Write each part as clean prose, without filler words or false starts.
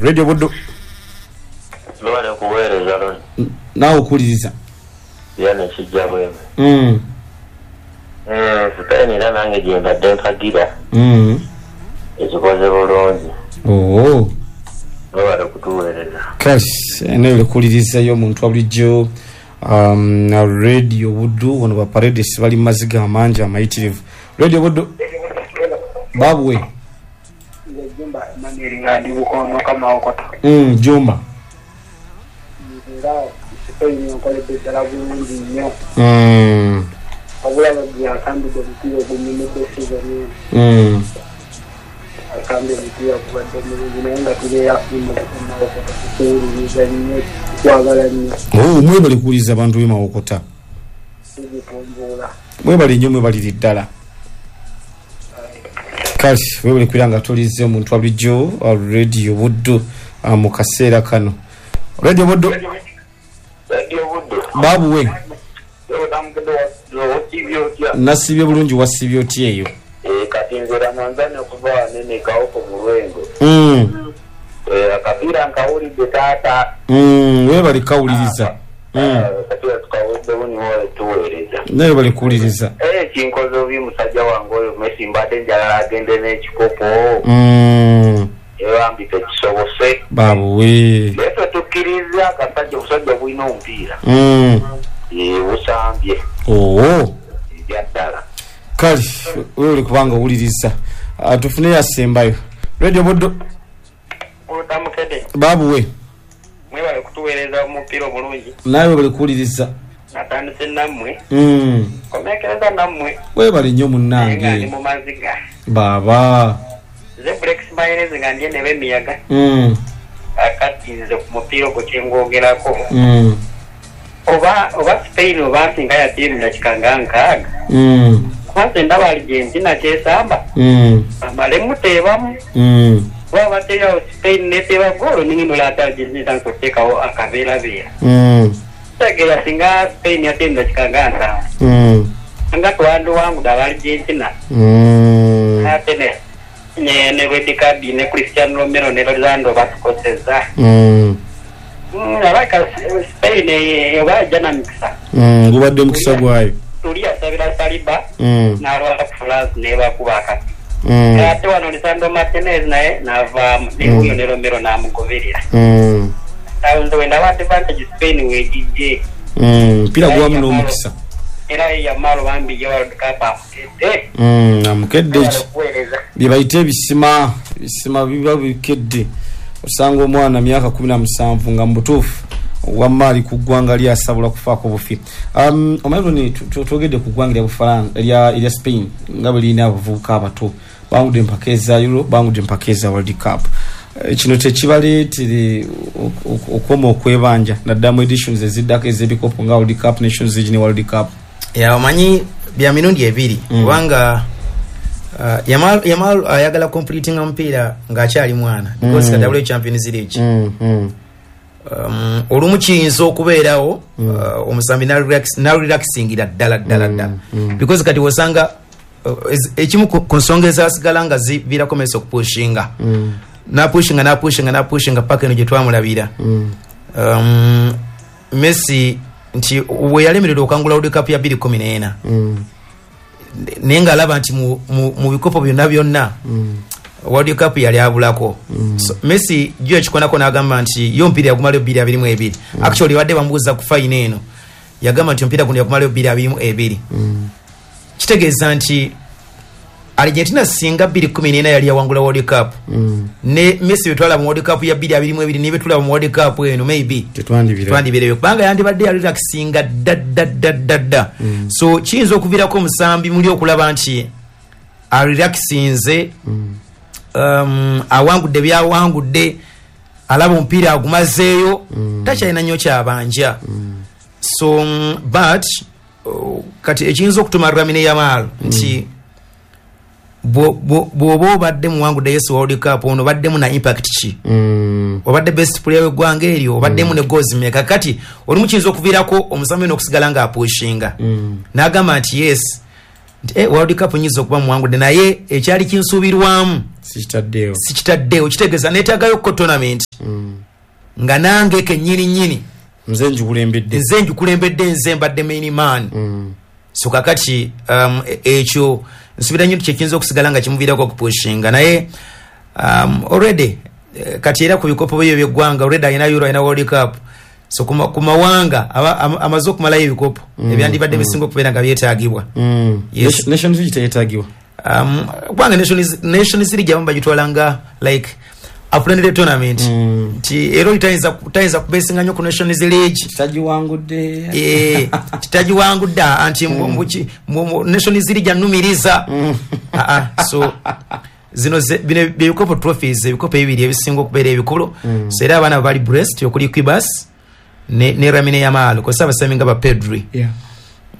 Radio Buddu. Mwebale kuweereza Ronnie. Naawe okuwuliriza. Vianney Kijja Bweme. Spain era nange gyembadde mpagira. Ekikoze bulungi. Oh. Mwebale kutuweereza. Kash, nawe okuwuliriza y'omuntu wa bulijjo Radio Buddu wano ba Paredes bali mu maziga amangi amayitirivu. Radio Buddu. Babwe. Nze Jumba Emmanuel nga ndi Bukono Kamawokota. Jumba. Nze era Spain enkoledde ddala bulungi nnyo. Wabula Rodri asambidde omupiira ogunyumidde sizoni eno. Asambye omupiira gubadde mulungi naye nga tubeera mu Mawokota tukuwuliriza nnyo tukwagala nnyo. Oh, mwebale kuwuliriza abantu b'e Mawokota. Tuzitumbuula. Mwebale nnyo mwebalire ddala. Kale webale kubeera nga tuwuliriza omuntu wa bulijjo Radio Buddu mu kaseera kano. Radio Buddu. Radio Buddu. Babuwe. Nasiibye bulungi, wasiibye otya eyo? Kati nze Ramanzani okuva wano eno e Kawoko mu Lwengo. Akapiira nkawulidde taata. Webale kawuliriza. Akapiira tukawuliddewo niwo tuweereza. Naye webale kuwuliriza. Kinkoze obi musajja wange oyo Messi mbadde njagala agende n'ekikopo. Bambi tekisobose. Babuwe. Naye ffe tukkiriza akasajja obusajja bulina omupiira. Busambye. Oo. Ebya ddala. Kale webale kubanga owuliriza. Tufune yasembayo. Radio Buddu. Otamukede. Babuwe. Mwebale kutuweereza omupiira obulungi. Nawe webale kuwuliriza. Natandise nammwe. Komekereza nammwe. Webale nnyo munnange. Nga ndi mu maziga. Baba. Nze Brex Mayonnaise nga ndi eno emiyaga. Akati nze ku mupiira ogwo kye ngwogerako. Oba Spain oba nti nga yattiimu dakika nga 60. Kuba nze ndaba Argentina kyesamba. Bamale muteebamu. Kuba bateerawo Spain neteeba ggoolo ningi ate Argentina etandise okuteekawo akabeerabeera. Kitegeera singa Spain yattiimu dakika nga 70. Nga twandiwangudde aba Argentina. Ate ne red card ne Cristiano Romero ne Lisandro batukosezza. Abaka Spain oba ajja na mikisa. Gubadde mukisa gwayo. Tuli asabira Saliba n'alwala ku France nebakuba akati. Ate wano Lisandro Martinez naye n'avaamu ne wuyo ne Romero n'amugoberera. Awo nze wendaba advantage Spain weegijje. Mpira gwamu n'omukisa. Era Yamal bambi ye World Cup amukedde. Amukedde ki? Bye bayita ebisima, ebisima biba bikedde. Osanga omwana myaka 17 nga mu butuufu wamma ali ku ggwanga lyasabula kufaako bufi. Omanyi twogedde ku ggwanga lya Bufalansa erya Spain nga bwe lirina abavubuka abato bangudde empaka eza Euro, bangudde empaka eza World Cup. Kino tekibaleetere okukoma okwebanja naddala mu editions eziddako ez'ebikopo nga World Cup, Nations League ne World Cup. Ya omanyi bya mirundi ebiri kubanga Yamal ayagala completing omupiira ng'akyali mwana because kati awulira Champions League. Olumu kiyinza okubeerawo omusambi n'arelaxingira ddala ddala ddala because kati wosanga ekimu ku nsonga ezasigala nga ziviirako Messi okupushinga napushinga paka eno gye twamulabira. Messi nti we yalemererwa okangula World Cup ya 2014 naye ng'alaba nti mu bikopo byonna byonna World Cup yali abulako. So, Messi jo ekikonako n'agamba nti yo omupiira yagumalayo 2022. Actually badde bamubuuza ku fayina eno yagamba nti omupiira guno yagumalayo 2022. Kitegeeza nti Argentina singa 2014 yali yawangula World Cup ne Messi betwala mu World Cup ya 2022 ne betulaba mu World Cup eno maybe tetwandibireyo kubanga yandibadde yarelaxinga dda dda dda dda dda. So kiyinza okuviirako omusambi muli okulaba nti arelaxinze awangudde byawangudde alaba omupiira agumazeeyo takyalina nnyo kyabanja. So but kati ekiyinza okutuma Lamine Yamal nti bw'oba obadde muwangudde Yesu World Cup ono obaddemu na impact ki? Obadde best player w'eggwanga eryo, obaddemu ne goals mmeka? Kati olumu kiyinza okuviirako omusambi ono okusigala ng'apushinga n'agamba nti yes Nti World Cup nyinza okuba muwangudde, naye ekyali kinsuubirwamu Sikitaddeewo. Sikitaddeewo. Kitegeeza neetaagayo ko tournament nga nange kennyini nnyini Nze ngikulembedde. Nze ngikulembedde, nze mbadde main man. So kakati ekyo nsuubira nnyo nti kyekiyinza okusigala nga kimuviirako okupushinga, naye already kati era ku bikopo bye ebyeggwanga already alina Euro, alina World Cup. So ku mawanga amaze okumalayo ebikopo ebyandibadde bisinga okubeera nga byetaagibwa. Yes. Nations League teyetaagibwa. Kubanga Nations League abamu bagitwala nga like a friendly tournament, nti era oli tayinza kubesinga nnyo ku Nations League. Tagiwangudde. Titagiwangudde anti Nations League annumiriza. Ah, ah, so zino bino byebikopo, trophies, ebikopo ebibiri ebisinga okubeera ebikulu. So era abaana bali blessed okuli Cubarsi ne Lamine Yamal, kosa abasambi nga ba Pedri,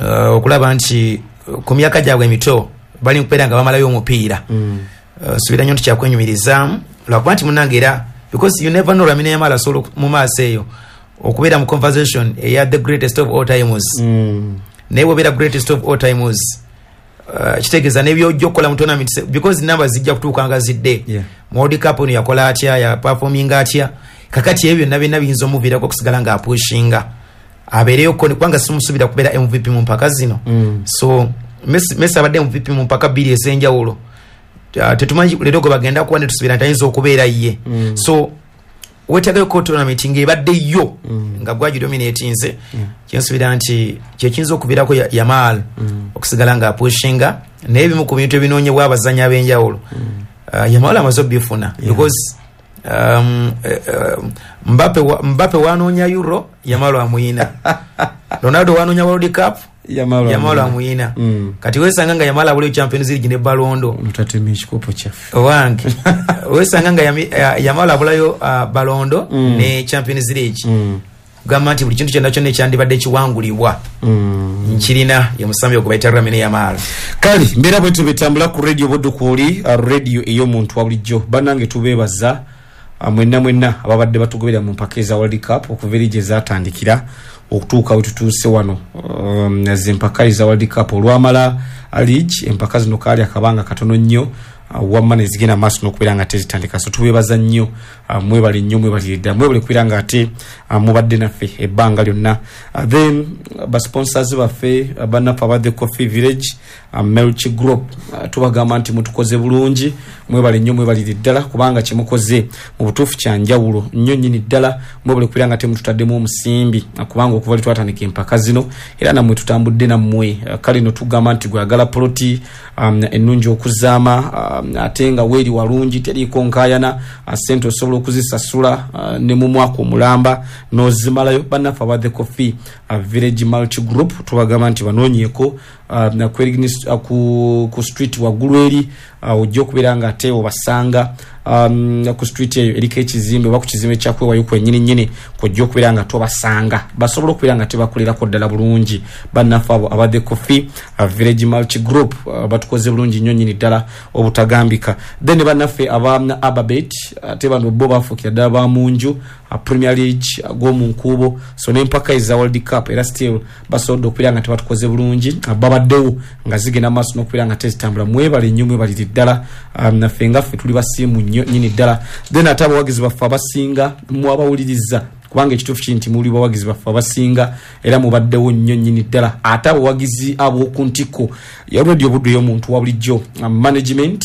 okulaba nti ku myaka gyabwe emito bali mukubeera nga bamalayo omupiira. Nsuubira nnyo nti kyakwenyumirizaamu, lwakuba nti munange era because you never know, Lamine Yamal asobola mu maaso eyo okubeera mu conversation eya the greatest of all times. Naye bwobeera greatest of all times, kitegeeza nebyojja okukola mu tournament, because namba zijja kutuuka nga zidde. Mu World Cup ono yakola atya, yaperforminga atya? Kakati ebyo byonna byonna biyinza omuviirako okusigala ng'apushinga abeereyo ko, kubanga simusuubira kubeera MVP mu mpaka zino. So Messi abadde MVP mu mpaka bbiri ez'enjawulo. Tetumanyi leero gwe bagenda kuba, netusuubira nti ayinza okubeera ye. So wetagayo ko tournament ng'ebadde yo nga gwagidominatinze. Kyensuubira nti kyekiyinza okuviirako Yamal okusigala ng'apushinga, naye ebimu ku bintu ebinoonyebwa abazannyi ab'enjawulo, Yamal amaze obifuna, because Mbappe wanoonya Euro, Yamal amuyina. Ronaldo wanoonya World Cup, Yamal Yamal amuyina. Kati wesanga nga Yamal abuliyo Champions League ne Ballon d'Or. Tutatema ekikopo kyaffe. Owange, wesanga nga Yamal abulayo Ballon d'Or ne Champions League. Kugamba nti buli kintu kyonna kyonna ekyandibadde kiwangulibwa nkirina, ye musambi ogwe bayita Lamine Yamal. Kale mbeera bwetyo betambula ku Radio Buddu, kwoli radio ey'omuntu wa bulijjo. Bannange, tubeebaza mwenna mwenna ababadde batugoberera mu mpaka eza World Cup okuva eri gye zatandikira okutuuka we tutuuse wano. Ze empaka eza World Cup olwamala league, empaka zino kaali akabanga katono nnyo, wamma nezigenda maaso n'okubeera nga tezitandika. So tubeebaza nnyo, mwebale nnyo, mwebalire ddala, mwebale kubeera nga ate mubadde naffe ebbanga lyonna. Then basponsors baffe, bannaffe aba The Coffee Village, Melch Group, tubagamba nti mutukoze bulungi, mwebale nnyo, mwebalire ddala, kubanga kyemukoze mu butuufu kyanjawulo nnyo nnyini ddala. Mwebale kubeera nga temututaddemu omusimbi, kubanga okuva lwe twatandika empaka zino era nammwe tutambudde nammwe. Kale no tugamba nti gwagala poloti ennungi okuzaama, ate nga weeri walungi, teriiko nkaayana, sente osobola okuzisasula ne mu mwaka omulamba n'ozimalayo. Bannaffe aba The Coffee Village Multi Group tubagamba nti banoonyeeko ku street waggulu eri, ojja okubeera nga ate obasanga ku street eyo eriko ekizimbe oba ku kizimbe kyakwewayo kwenyini nyini kwojja okubeera nga tobasanga, basobola okubeera nga tebakolerako ddala bulungi. Bannaffe abo aba The Coffee Village Multi Group batukoze bulungi nnyo nnyini ddala obutagambika. Then bannaffe aba Ababet, ate bano bo bafuukira ddala ba munju, Premier League ag'omu nkuubo, so n'empaka eza World Cup era still basobodde okubeera nga tebatukoze bulungi, babaddewo nga zigenda maaso n'okubeera nga tezitambula. Mwebale nnyo, mwebalire ddala. Naffe nga ffe tuli basiimu nnyo nnyini ddala. Then ate abawagizi baffe abasinga mwabawuliriza, kubanga ekituufu kiri nti muli bawagizi baffe abasinga era mubaddewo nnyo nnyini ddala. Ate abawagizi ab'oku ntikko ya Radio Buddu ey'omuntu wa bulijjo, management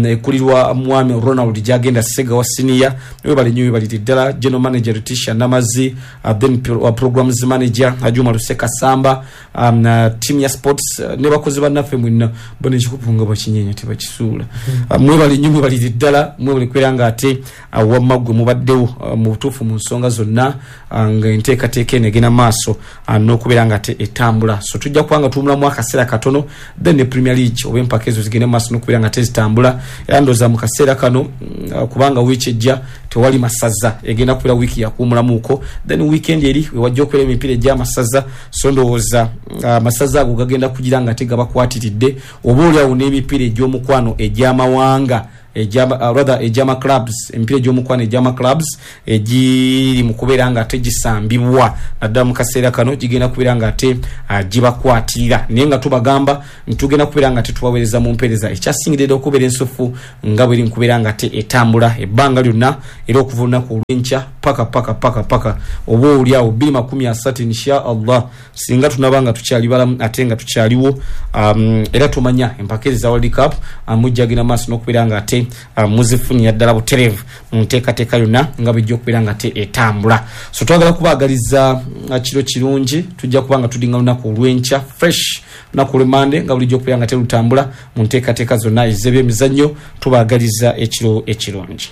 ekulirwa mwami Ronald Gyagenda Segawa senior, webale nnyo, webalire ddala. General manager Letitia Namazi, then programs manager Ajuma Luseka Samba, team ya sports, ne bakozi bannaffe mwenna bona, ekikopo nga bakinyenya tebakisuula. Mwebale nnyo, mwebalire ddala, mwebale kubeera nga ate wamma ggwe mubaddewo mu butuufu mu nsonga zonna, nga enteekateeka eno egenda maaso n'okubeera nga ate etambula. So tujja kuba nga tuwumulamu akaseera katono, then ne Premier League oba empaka ezo zigende maaso n'okubeera nga tezitambula. Era ndowooza mu kaseera kano, kubanga wiiki ejja tewali masaza, egenda kubeera wiiki yakuwumulamuuko, then weekend eri wewajja okubeera emipiira egy'amasaza. So ndowooza amasaza ago gagenda kugira nga ate gabakwatiridde, oba oliawo n'emipiira egy'omukwano egy'amawanga. rather egyama clubs, emipiira egy'omukwano egyama clubs egiri mu kubeera nga ate gisambibwa naddala mu kaseera kano, gigenda kubeera nga ate gibakwatirira. Naye nga tubagamba nti tugenda kubeera nga tetubaweereza mu mpeereza ekyasingidde okubeera ensufu nga bweri nkubeera nga ate etambula ebbanga lyonna, era okuva olunaku olw'enkya paka paka paka paka oba oli awo 2030 insha Allah, singa tunaba nga tukyali balamu ate nga tukyaliwo. Era tumanya empaka eza World Cup mujja genda maaso n'okubeera nga ate muzifunira ddala butereevu mu nteekateeka yonna nga bwejja okubeera nga ate etambula. So twagala kubaagaliza kiro kirungi. Tujja kuba nga tudinga lunaku olw'enkya fresh, lunaku olw'emmande nga bulijjo okubeera nga terutambula mu nteekateeka zonna ez'ebyemizannyo. Tubaagaliza ekiro ekirungi.